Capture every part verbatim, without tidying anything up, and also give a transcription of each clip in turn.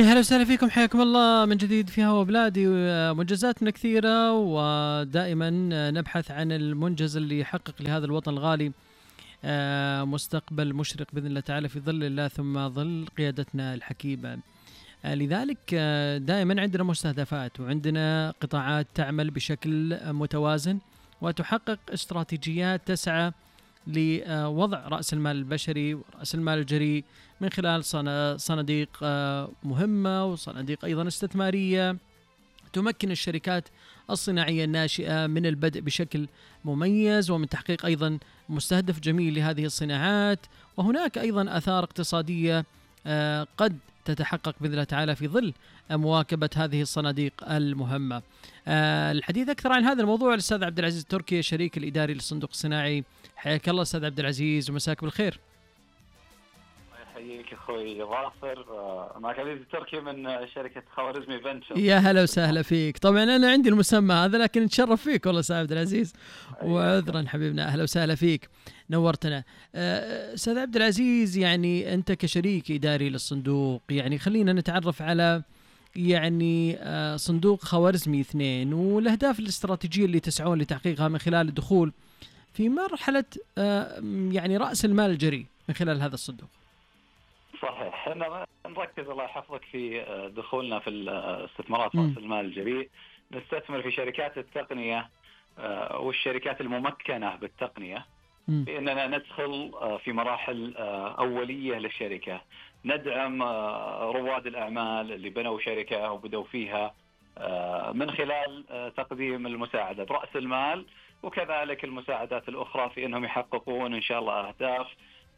يا هلا وسهلا فيكم، حياكم الله من جديد في هوا بلادي. منجزاتنا كثيرة ودائما نبحث عن المنجز اللي يحقق لهذا الوطن الغالي مستقبل مشرق بإذن الله تعالى في ظل الله ثم ظل قيادتنا الحكيمة. لذلك دائما عندنا مستهدفات وعندنا قطاعات تعمل بشكل متوازن وتحقق استراتيجيات تسعى لوضع رأس المال البشري ورأس المال الجريء من خلال صناديق مهمة وصناديق أيضا استثمارية تمكن الشركات الصناعية الناشئة من البدء بشكل مميز ومن تحقيق أيضا مستهدف جميل لهذه الصناعات. وهناك أيضا آثار اقتصادية قد تتحقق بإذن الله تعالى في ظل مواكبة هذه الصناديق المهمة. الحديث أكثر عن هذا الموضوع الأستاذ عبد العزيز التركي، الشريك الإداري للصندوق الصناعي. حياك الله أستاذ عبد العزيز ومساك بالخير. يحييك أخوي ظافر، معك عزيز التركي من شركة خوارزمي فنتشر. يا هلا وسهلا فيك. طبعا أنا عندي المسمى هذا لكن نتشرف فيك والله أستاذ عبد العزيز، وعذرا حبيبنا. أهلا وسهلا فيك، نورتنا. أستاذ عبد العزيز، يعني أنت كشريك إداري للصندوق، يعني خلينا نتعرف على يعني صندوق خوارزمي اثنين والأهداف الاستراتيجية اللي تسعون لتحقيقها من خلال الدخول في مرحلة يعني رأس المال الجريء من خلال هذا الصندوق. صحيح، احنا نركز الله يحفظك في دخولنا في الاستثمارات رأس المال الجريء. نستثمر في شركات التقنية والشركات الممكنة بالتقنية بأننا ندخل في مراحل أولية للشركة، ندعم رواد الأعمال اللي بنوا شركة وبدوا فيها من خلال تقديم المساعدة برأس المال وكذلك المساعدات الأخرى في أنهم يحققون إن شاء الله أهداف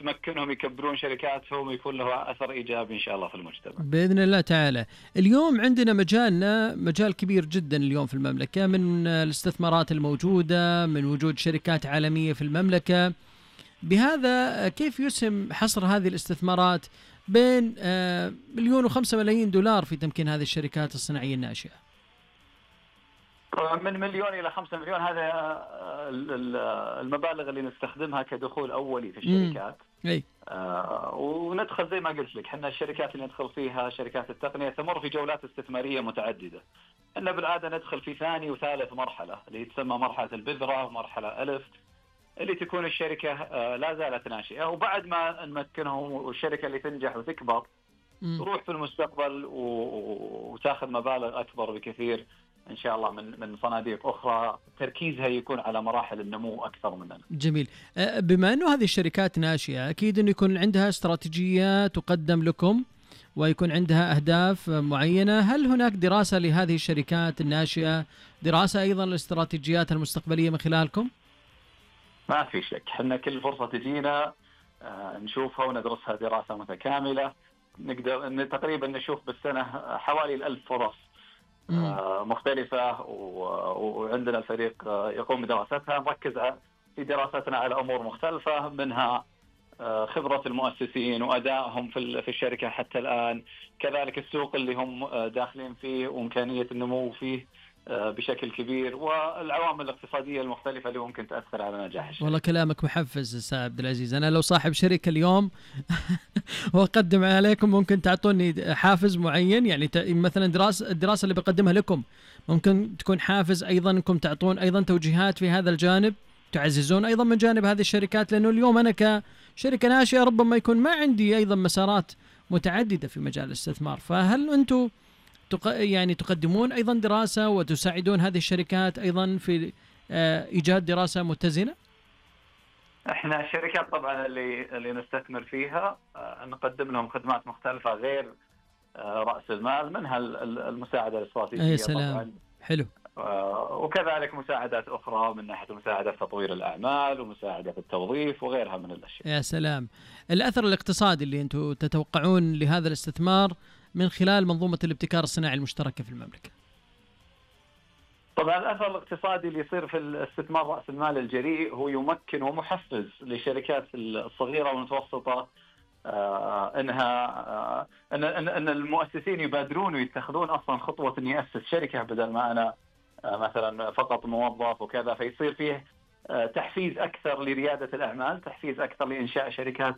تمكنهم يكبرون شركاتهم ويكون له أثر إيجابي إن شاء الله في المجتمع بإذن الله تعالى. اليوم عندنا مجالنا مجال كبير جدا اليوم في المملكة، من الاستثمارات الموجودة، من وجود شركات عالمية في المملكة. بهذا كيف يسهم حصر هذه الاستثمارات بين مليون وخمسة ملايين دولار في تمكين هذه الشركات الصناعية الناشئة؟ من مليون إلى خمسة مليون، هذا المبالغ اللي نستخدمها كدخول أولي في الشركات. أي. آه وندخل زي ما قلت لك، حنا الشركات اللي ندخل فيها شركات التقنية تمر في جولات استثمارية متعددة. إحنا بالعادة ندخل في ثاني وثالث مرحلة اللي تسمى مرحلة البذرة ومرحلة ألف، اللي تكون الشركة آه لا زالت ناشئة، وبعد ما نمكنهم والشركة اللي تنجح وتكبر تروح في المستقبل وتاخذ مبالغ أكبر بكثير إن شاء الله من من صناديق أخرى تركيزها يكون على مراحل النمو أكثر مننا. جميل. بما أنه هذه الشركات ناشئة، أكيد أنه يكون عندها استراتيجية تقدم لكم ويكون عندها أهداف معينة. هل هناك دراسة لهذه الشركات الناشئة، دراسة أيضا للاستراتيجيات المستقبلية من خلالكم؟ ما في شك، حنا كل فرصة تجينا نشوفها وندرسها دراسة متكاملة. نقدر تقريبا نشوف بالسنة حوالي الألف فرص مختلفة، وعندنا الفريق يقوم بدراستها. نركز في دراستنا على أمور مختلفة، منها خبرة المؤسسين وأدائهم في الشركة حتى الآن، كذلك السوق اللي هم داخلين فيه وإمكانية النمو فيه بشكل كبير، والعوامل الاقتصادية المختلفة اللي ممكن تأثر على نجاح الشركة. والله كلامك محفز أستاذ عبد العزيز. أنا لو صاحب شركة اليوم وأقدم عليكم، ممكن تعطوني حافز معين؟ يعني مثلا دراسة الدراسة اللي بقدمها لكم ممكن تكون حافز أيضا أنكم تعطون أيضا توجيهات في هذا الجانب، تعززون أيضا من جانب هذه الشركات، لأنه اليوم أنا كشركة ناشئة ربما يكون ما عندي أيضا مسارات متعددة في مجال الاستثمار. فهل أنتم يعني تقدمون أيضا دراسة وتساعدون هذه الشركات أيضا في إيجاد دراسة متزنة؟ احنا الشركات طبعا اللي اللي نستثمر فيها نقدم لهم خدمات مختلفة غير رأس المال، منها المساعدة الاستراتيجية. يا سلام. طبعا حلو. وكذلك مساعدات أخرى من ناحية مساعدة في تطوير الأعمال ومساعدة في التوظيف وغيرها من الأشياء. يا سلام. الأثر الاقتصادي اللي أنتم تتوقعون لهذا الاستثمار من خلال منظومة الابتكار الصناعي المشتركة في المملكة؟ طبعا الأثر الاقتصادي اللي يصير في الاستثمار رأس المال الجريء هو يمكن ومحفز للشركات الصغيرة والمتوسطة آه انها آه ان ان المؤسسين يبادرون ويتخذون اصلا خطوه اني اسس شركه بدل ما انا آه مثلا فقط موظف وكذا، فيصير فيه آه تحفيز اكثر لرياده الاعمال، تحفيز اكثر لانشاء شركات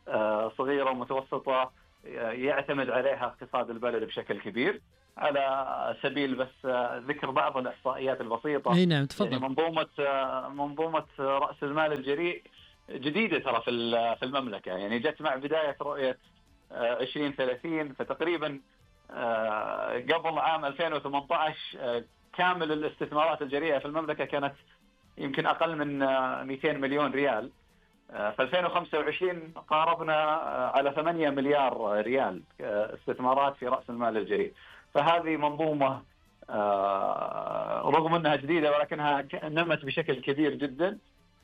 آه صغيره ومتوسطه يعتمد عليها اقتصاد البلد بشكل كبير. على سبيل بس ذكر بعض الإحصائيات البسيطة. اي نعم تفضل. يعني منظومة منظومة رأس المال الجريء جديدة ترى في في المملكة، يعني جت مع بداية رؤية عشرين ثلاثين، فتقريبا قبل عام ألفين وثمانية عشر كامل الاستثمارات الجريئة في المملكة كانت يمكن أقل من مئتين مليون ريال. في ألفين وخمسة وعشرين قاربنا على ثمانية مليار ريال استثمارات في رأس المال الجريء. فهذه منظومة رغم أنها جديدة ولكنها نمت بشكل كبير جدا.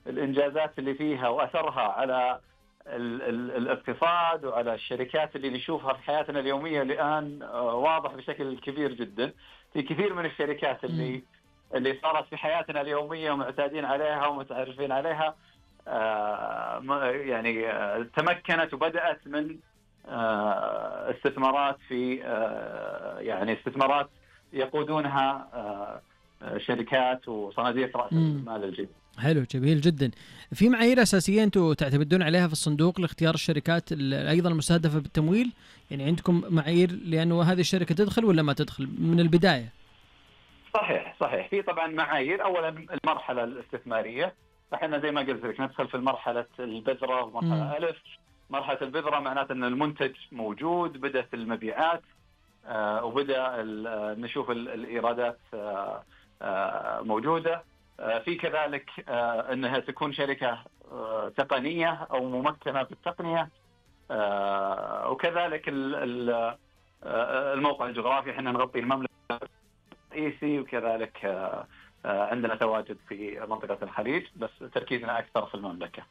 الإنجازات اللي فيها وأثرها على ال ال الاقتصاد وعلى الشركات اللي نشوفها في حياتنا اليومية الآن واضح بشكل كبير جدا. في كثير من الشركات اللي اللي صارت في حياتنا اليومية ومعتادين عليها ومتعرفين عليها يعني تمكنت وبدأت من استثمارات في يعني استثمارات يقودونها شركات وصناديق رأس المال الجديد. حلو جميل جدا. في معايير أساسية أنتم تعتمدون عليها في الصندوق لاختيار الشركات أيضا المستهدفة بالتمويل؟ يعني عندكم معايير لأنه هذه الشركة تدخل ولا ما تدخل من البداية؟ صحيح صحيح في طبعا معايير. أولا المرحلة الاستثمارية، فإحنا زي ما قلت لك ندخل في المرحلة البذرة ومرحلة ألف. مرحلة البذرة معناته أن المنتج موجود، بدأت المبيعات آه وبدأ نشوف الإيرادات آه آه موجودة. آه في كذلك آه أنها تكون شركة آه تقنية أو ممكنة بالتقنية، آه وكذلك الموقع الجغرافي. احنا نغطي المملكة الرئيسي، وكذلك آه عندنا تواجد في منطقة الخليج، بس تركيزنا أكثر في المملكة.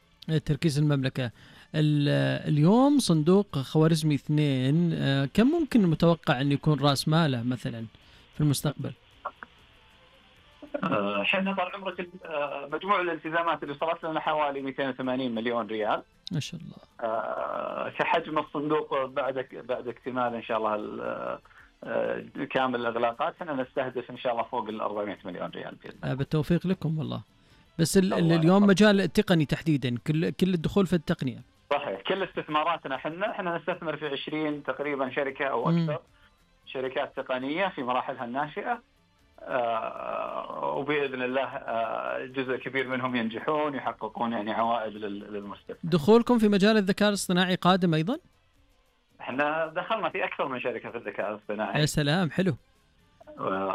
تركيز المملكة. اليوم صندوق خوارزمي اثنين كم ممكن متوقع أن يكون رأس ماله مثلا في المستقبل؟ احنا طال عمرك مجموع الالتزامات اللي صارت لنا حوالي مئتين وثمانين مليون ريال ما شاء الله. كحجم الصندوق بعد بعد اكتمال ان شاء الله كامل الاغلاقات احنا نستهدف ان شاء الله فوق ال أربعمئة مليون ريال بإذن. بالتوفيق لكم والله. بس اليوم مجال التقني تحديدا كل كل الدخول في التقنية. صحيح كل استثماراتنا احنا احنا نستثمر في عشرين تقريبا شركة او اكثر. م. شركات تقنية في مراحلها الناشئة، آه وبإذن الله آه جزء كبير منهم ينجحون يحققون يعني عوائد للمستثمر. دخولكم في مجال الذكاء الاصطناعي قادم أيضا؟ احنا دخلنا في أكثر من شركة في الذكاء الاصطناعي. يا سلام حلو.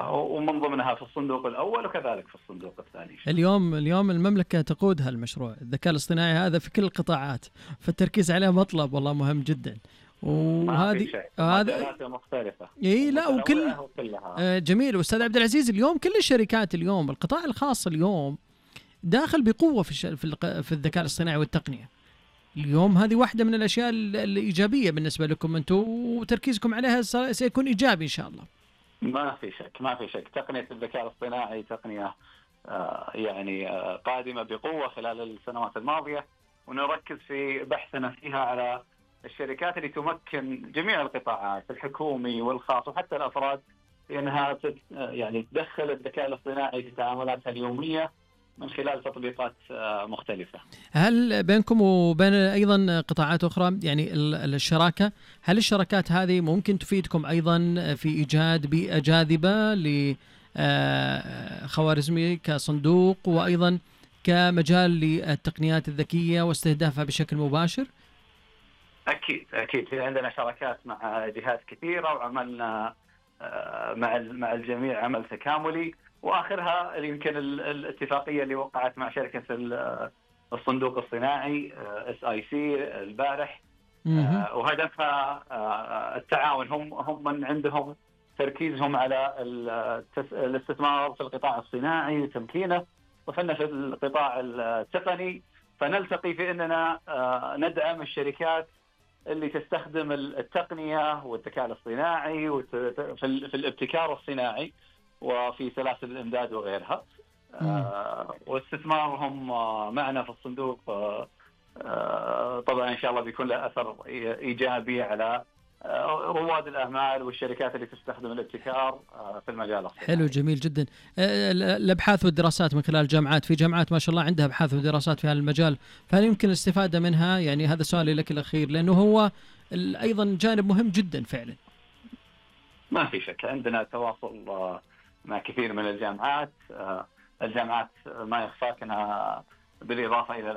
ومن ضمنها في الصندوق الأول وكذلك في الصندوق الثاني. اليوم اليوم المملكة تقود هالمشروع الذكاء الاصطناعي هذا في كل القطاعات، فالتركيز عليه مطلب والله مهم جدا. وهذه هذا مختلفة. اي لا وكل آه جميل. واستاذ عبد العزيز اليوم كل الشركات اليوم القطاع الخاص اليوم داخل بقوة في في, في الذكاء الاصطناعي والتقنية. اليوم هذه واحدة من الأشياء الإيجابية بالنسبة لكم أنتم، وتركيزكم عليها سيكون إيجابي إن شاء الله. ما في شك ما في شك تقنية الذكاء الاصطناعي تقنية آه يعني آه قادمة بقوة خلال السنوات الماضية، ونركز في بحثنا فيها على الشركات اللي تمكن جميع القطاعات الحكومي والخاص وحتى الأفراد لأنها يعني تدخل الذكاء الاصطناعي في تعاملاتها اليومية من خلال تطبيقات مختلفة. هل بينكم وبين أيضا قطاعات أخرى يعني الشراكة، هل الشراكات هذه ممكن تفيدكم أيضا في إيجاد بيئة جاذبة لخوارزمي كصندوق وأيضا كمجال للتقنيات الذكية واستهدافها بشكل مباشر؟ أكيد أكيد في عندنا شراكات مع جهات كثيرة وعملنا مع مع الجميع عمل تكاملي، وآخرها يمكن الاتفاقية اللي وقعت مع شركة الصندوق الصناعي إس آي سي البارح، وهدفها التعاون. هم هم من عندهم تركيزهم على الاستثمار في القطاع الصناعي وتمكينه، وفنا في القطاع التقني، فنلتقي في أننا ندعم الشركات اللي تستخدم التقنية والذكاء الاصطناعي في الابتكار الصناعي وفي سلاسل الإمداد وغيرها. آه واستثمارهم معنا في الصندوق آه آه طبعا إن شاء الله بيكون له أثر إيجابي على آه رواد الأعمال والشركات اللي تستخدم الابتكار آه في المجال الصناعي. حلو جميل جدا. آه الأبحاث والدراسات من خلال الجامعات، في جامعات ما شاء الله عندها أبحاث ودراسات في هذا المجال، فهل يمكن الاستفادة منها؟ يعني هذا سؤالي لك الأخير، لأنه هو أيضا جانب مهم جدا فعلا. ما في شك عندنا تواصل مع كثير من الجامعات. الجامعات ما يخفاك أنها بالإضافة إلى